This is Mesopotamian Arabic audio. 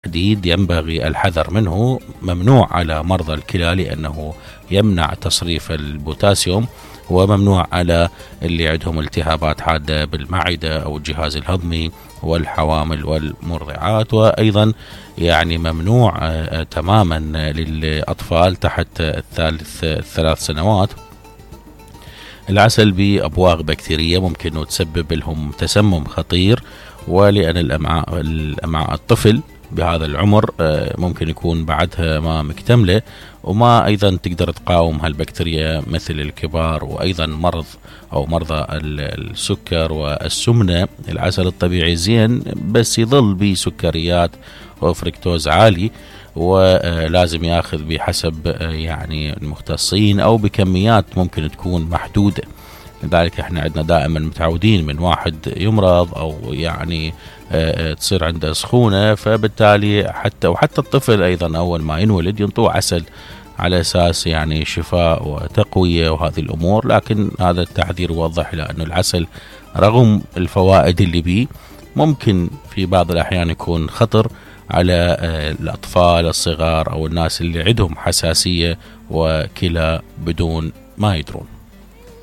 جديد ينبغي الحذر منه. ممنوع على مرضى الكلى لأنه يمنع تصريف البوتاسيوم، وممنوع على اللي عندهم التهابات حادة بالمعدة أو الجهاز الهضمي والحوامل والمرضعات. وأيضا يعني ممنوع تماما للأطفال تحت 3 سنوات. العسل بأبواق بكتيرية ممكن تسبب لهم تسمم خطير، ولأن الأمعاء الطفل بهذا العمر ممكن يكون بعدها ما مكتملة، وما أيضا تقدر تقاوم هالبكتيريا مثل الكبار. وأيضا مرضى السكر والسمنة. العسل الطبيعي زين بس يظل بسكريات وفركتوز عالي، ولازم ياخذ بحسب يعني المختصين أو بكميات ممكن تكون محدودة. لذلك احنا عندنا دائما متعودين من واحد يمرض او يعني تصير عنده سخونة، فبالتالي حتى الطفل ايضا اول ما ينولد ينطوه عسل على اساس يعني شفاء وتقوية وهذه الامور. لكن هذا التحذير يوضح الى انه العسل رغم الفوائد اللي بيه ممكن في بعض الاحيان يكون خطر على الاطفال الصغار او الناس اللي عندهم حساسية وكلى بدون ما يدرون.